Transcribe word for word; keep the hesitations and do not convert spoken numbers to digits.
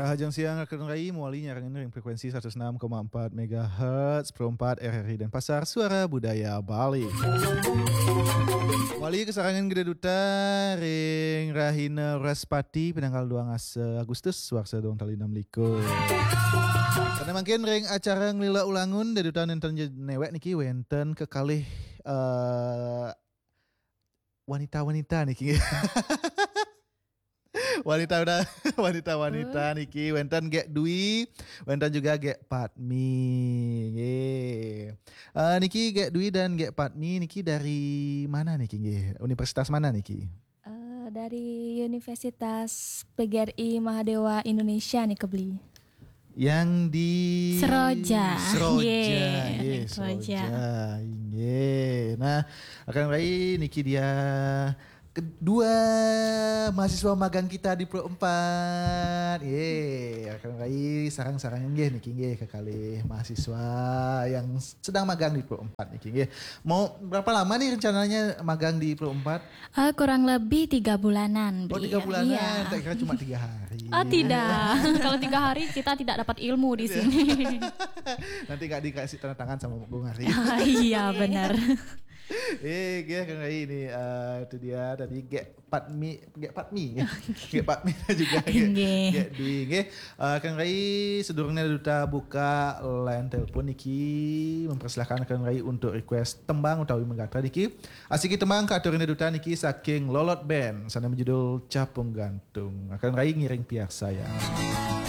Rahajeng siang, Rakeun Rai, mawali nyarengin ring frekuensi seratus enam koma empat megahertz, Pro empat R R I Denpasar, Suara Budaya Bali. Mawali kasarengan Gede Duta ring rahina Wrespati, pinanggal dua ngasa Agustus, warsa dua tali enam likur. Sané mangkin ring acara Nglila Ulangun, Gede Duta nénten je-, néwék niki wénten kekalih, eh, wanita-wanita niki. Wanita, wanita-wanita niki, wénten Gék Dwi, wénten juga Gék Patmi. Nggih. Eh, niki Gék Dwi dan Gék Patmi niki dari mana niki nggih? Universitas mana niki? Eh, dari Universitas P G R I Mahadewa Indonesia nih, Kebli. Yang di Seroja. Seroja. Nggih, Nggih, Seroja. Seroja. Nggih. Nah, Rakeun Rai, niki dia kedua mahasiswa magang kita di Pro empat. Nggih, Rakeun Rai, sareng-sareng nggih niki nggih kekalih mahasiswa yang sedang magang di Pro empat niki nggih. Mau berapa lama nih rencananya magang di Pro empat? Eh, kurang lebih tiga bulanan. Oh, Beli. Tiga bulanan, Iya. Tak kira cuma tiga hari. Oh, tidak. Kalau tiga hari kita tidak dapat ilmu di sini. Nanti nggak dikasih tanda tangan sama Bung Hari. Ah, iya, benar. Eh, Gék Rakeun Rai ini, eh, itu dia tadi Gék Patmi, Gék Patmi, Gék Patmi juga, Gék, Nggih. Gék Dwi, nggih. Eh, Rakeun Rai, sedurungnya Duta buka line telepon niki, mempersilahkan Rakeun Rai untuk request tembang utawi megatra niki. Asiki tembang katurin Duta niki saking Lolot Band, sané berjudul Capung Gantung. Rakeun Rai ngiring piarsayang.